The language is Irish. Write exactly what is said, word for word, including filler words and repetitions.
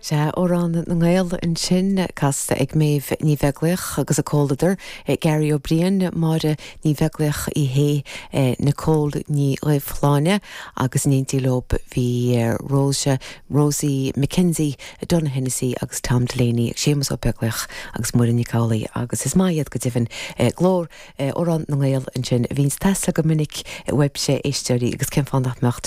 Sé Amhrán na nGael ansin casta ag Méabh Ní Bheaglaoich agus a comhluadar Gary Ó Briain Máire Ní Bheaglaoich í hé Nicole Ní Dhuibhshláine agus in éindí leo bhí Rose Rosie McKenzie, Donna Hennessy agus Tom Delaney ag Séamus Ó Beaglaoich agus Muireann Nic Amhlaoibh agus is maith iad go deimhin glór Amhrán na nGael ansin a bhíonn ag teastáil go minic uaibhse éisteoirí agus cén fáth nach mbeadh